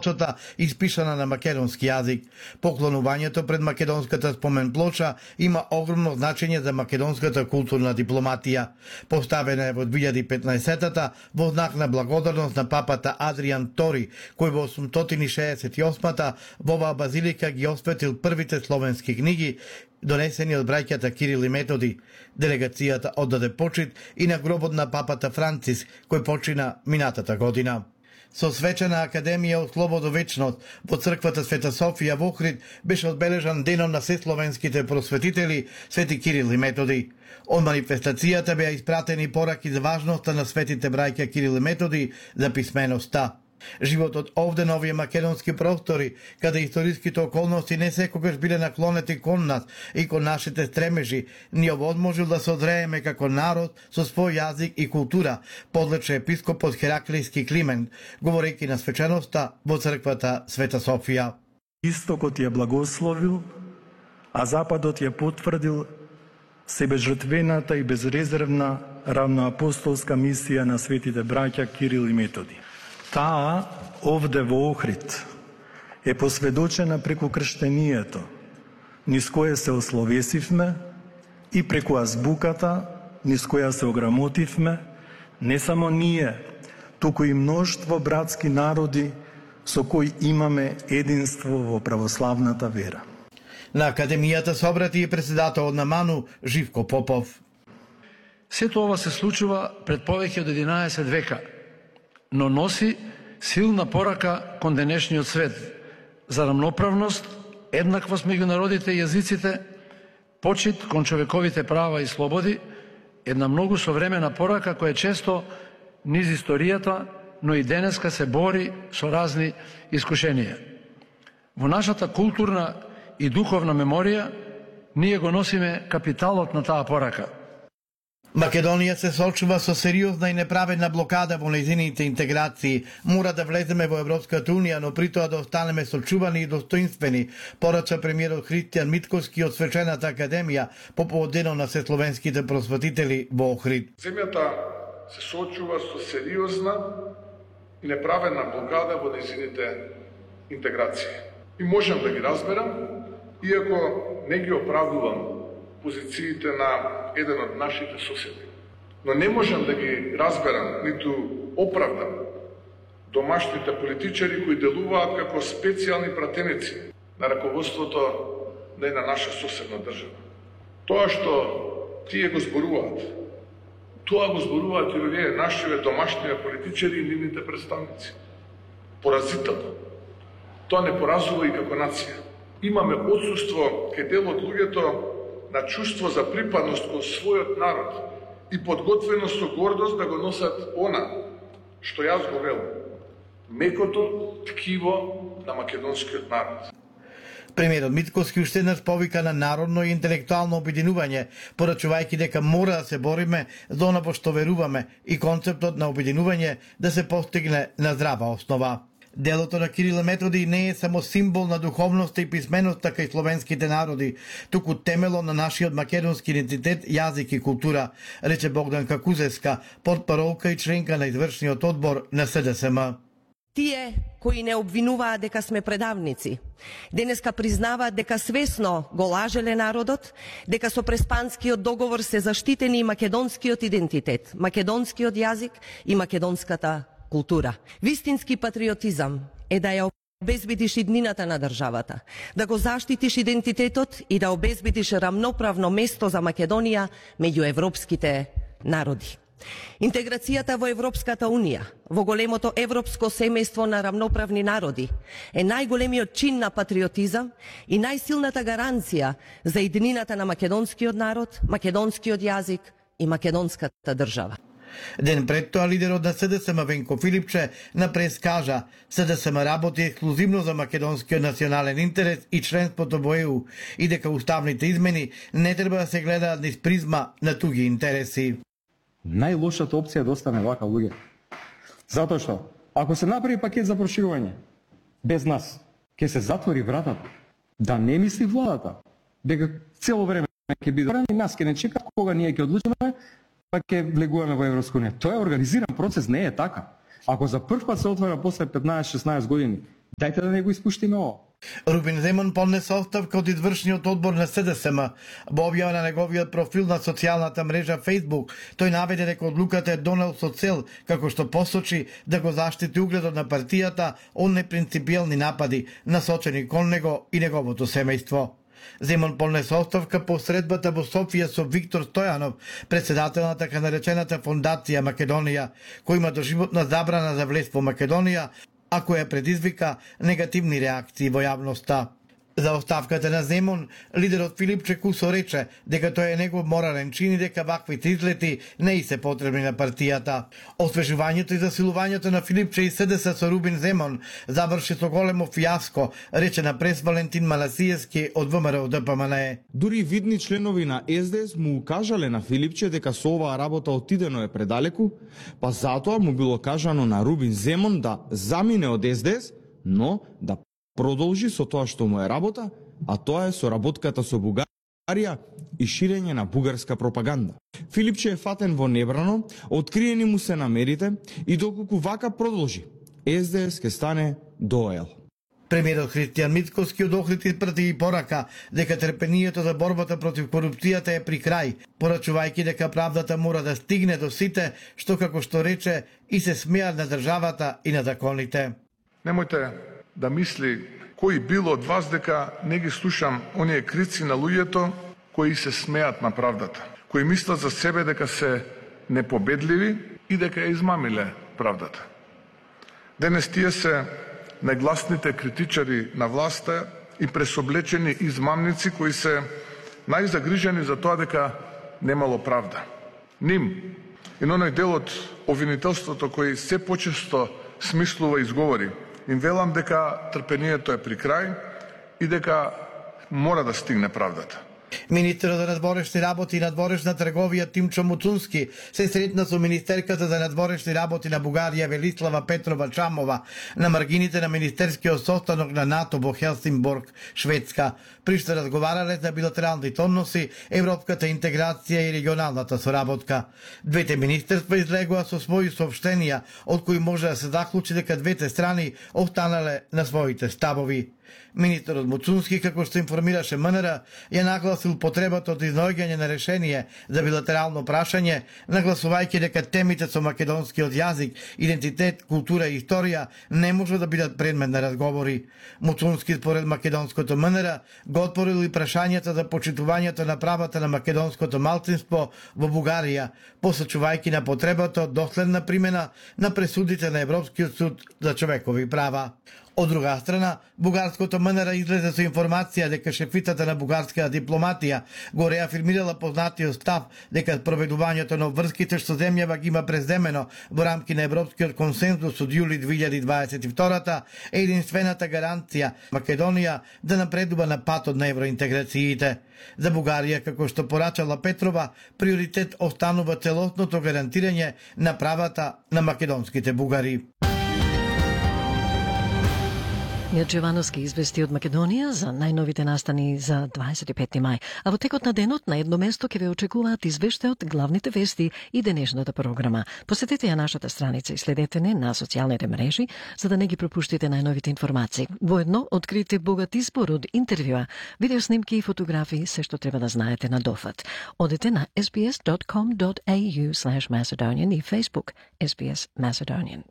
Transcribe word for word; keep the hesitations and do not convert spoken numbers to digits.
плочата испишана на македонски јазик. Поклонувањето пред македонската спомен плоча има огромно значење за македонската културна дипломатија. Поставена е во две илјади и петнаесетата во знак на благодарност на папата Адриан Тори, кој во осумстотини и шеесет и осмата во оваа базилика ги осветил првите словенски книги, донесени од браќата Кирил и Методи. Делегацијата оддаде почит и на гробот на папата Францис, кој почина минатата година. Со свечена академија од слободо вечност во црквата Света Софија во Охрид беше одбележан денот на сесловенските просветители Свети Кирил и Методи. Од манифестацијата беа испратени пораки за важноста на светите браќа Кирил и Методи за писменоста. Животот овде на овие македонски простори, каде историските околности не секогаш биле наклонети кон нас и кон нашите стремежи, ни овозможил да се одрееме како народ со свој јазик и култура, подлече епископот Хераклијски Климент, говорејќи на свеченоста во црквата Света Софија. Истокот ја благословил, а Западот ја потврдил себежртвената и безрезервна равноапостолска мисија на светите браќа Кирил и Методи. Таа, овде во Охрид, е посведочена преку крштенијето, низ кое се ословесивме, и преку азбуката, низ која се ограмотивме, не само ние, туку и мноштво братски народи со кои имаме единство во православната вера. На академијата се обрати и председателот на МАНУ Живко Попов. Сето ова се случува пред повеќе од единаесет века, но носи силна порака кон денешниот свет за рамноправност, еднаквост меѓу народите и јазиците, почит кон човековите права и слободи, една многу современа порака која често низ историјата, но и денеска се бори со разни искушенија. Во нашата културна и духовна меморија ние го носиме капиталот на таа порака. Македонија се соочува со сериозна и неправедна блокада во нејзините интеграции. Мора да влеземе во Европската унија, но при тоа да останеме сочувани и достоинствени, порача премиерот Христијан Митковски од свечената академија по повод денот на сесловенските просветители во Охрид. Земјата се соочува со сериозна и неправедна блокада во нејзините интеграции. И можам да ги разберам, иако не ги оправдувам позициите на еден од нашите соседи. Но не можам да ги разберам, ниту оправдам домашните политичари кои делуваат како специјални пратеници на раководството на една наша соседна држава. Тоа што тие го зборуваат, тоа го зборуваат и овие нашиве домашните политичари и нивните представници. Поразително. Тоа не поразува и како нација. Имаме отсуство кај дел од луѓето на чувство за припадност кон својот народ и подготвеност со гордост да го носат она што јас го велам, мекото ткиво на македонскиот народ. Премиерот Митковски уште еднаш повика на народно и интелектуално обединување, порачувајќи дека мора да се бориме за она во што веруваме и концептот на обединување да се постигне на здрава основа. Делото на Кирил и Методи не е само символ на духовноста и писменоста кај словенските народи, туку темело на нашиот македонски идентитет, јазик и култура, рече Богданка Кузевска, портпаролка и членка на извршниот одбор на С Д С М. Тие кои не обвинуваат дека сме предавници, денеска признаваат дека свесно го лажеле народот, дека со Преспанскиот договор се заштитени и македонскиот идентитет, македонскиот јазик и македонската култура. Вистински патриотизам е да ја обезбедиш иднината на државата, да го заштитиш идентитетот и да обезбедиш рамноправно место за Македонија меѓу европските народи. Интеграцијата во Европската Унија, во големото европско семејство на рамноправни народи, е најголемиот чин на патриотизам и најсилната гаранција за иднината на македонскиот народ, македонскиот јазик и македонската држава. Ден пред тоа лидерот на С Д С М Венко Филипче на прес кажа: С Д С М работи ексклузивно за македонскиот национален интерес и членството во Е У и дека уставните измени не треба да се гледаат низ призма на туги интереси. Најлошата опција е да остане вака, луѓе. Затоа што ако се направи пакет за проширување без нас, ќе се затвори вратата. Да не мисли владата дека цело време ќе биде и нас ќе не чека кога ние ќе одлучиме па ќе влегуваме во Европска унија. Тоа е организиран процес, не е така. Ако за прв пат се отвара после петнаесет шеснаесет години Дајте да не го испуштиме ово. Рубин Земун поднесе оставка од извршниот одбор на С Д С М. Во објава на неговиот профил на социјалната мрежа Facebook, тој наведе дека одлуката е донел со цел, како што посочи, да го заштити угледот на партијата од непринципиелни напади насочени кон него и неговото семејство. Земун поднесе оставка по средбата во Софија со Виктор Стојанов, председател на така наречената Фондација Македонија, кој има доживотна забрана за влез во Македонија, а која предизвика негативни реакции во јавноста. За оставката на Земун, лидерот Филипче Кусо рече дека тој е негов морален чин и дека ваквите излети не и се потребни на партијата. Освежувањето и засилувањето на Филипче и С Д С со Рубин Земун заврши со големо фијаско, рече на прес Валентин Маласиевски од В М Р Д П М Н Е. Дури видни членови на С Д С му укажале на Филипче дека со оваа работа отидено е предалеку, па затоа му било кажано на Рубин Земун да замине од С Д С, но да продолжи со тоа што му е работа, а тоа е соработката со Бугарија и ширење на бугарска пропаганда. Филипче е фатен во небрано, откриени му се намерите и доколку вака продолжи, С Д С ке стане доел. Премиерот Христијан Мицкоски од Охрид испрати и порака дека трпението за борбата против корупцијата е при крај, порачувајќи дека правдата мора да стигне до сите, што како што рече и се смеат на државата и на законите. Немојте да мисли кој било од вас дека не ги слушам оние крици на луѓето кои се смеат на правдата, кои мислат за себе дека се непобедливи и дека ја измамиле правдата. Денес тие се најгласните критичари на власта и пресоблечени измамници кои се најзагрижени за тоа дека немало правда. Ним и на оној дел од обвинителството кој се почесто смислува и изговори, им велам дека трпението е при крај и дека мора да стигне правдата. Министерот за надворешни работи и надворешна трговија Тимчо Муцунски се сретна со министерката за надворешни работи на Бугарија Велислава Петрова Чамова на маргините на министерскиот состанок на НАТО во Хелсинборг, Шведска, при што разговарале за билатералните односи, европската интеграција и регионалната соработка. Двете министерства излегоа со своји соопштенија, од кои може да се заклучи дека двете страни останале на своите ставови. Министерот Муцунски, како што информираше М Н Р, ја нагласил потребата од изнаоѓање на решение за билатерално прашање, нагласувајќи дека темите со македонскиот јазик, идентитет, култура и историја не може да бидат предмет на разговори. Муцунски според македонското М Н Р го отворил и прашањата за почитувањето на правата на македонското малцинство во Бугарија, посочувајќи на потребата од доследна примена на пресудите на Европскиот суд за човекови права. Од друга страна, бугарското М Н Р излезе со информација дека шефицата на бугарската дипломатија го реафирмирала познатиот став дека проведувањето на обврските што земјава ги има преземено во рамки на европскиот консензус од јули две илјади дваесет и втора е единствената гаранција Македонија да напредува на патот на евроинтеграциите. За Бугарија, како што порачала Петрова, приоритет останува целосното гарантирање на правата на македонските бугари. Мирче Ивановски извести од Македонија за најновите настани за дваесет и петти мај. А во текот на денот на едно место ќе ве очекуваат извештаи од главните вести и денешната програма. Посетете ја нашата страница и следете не на социјалните мрежи за да не ги пропуштите најновите информации. Воедно открите богат избор од интервјуа, видеоснимки и фотографии, се што треба да знаете на дофат. Одете на s b s dot com dot a u slash macedonian и Facebook S B S Macedonian.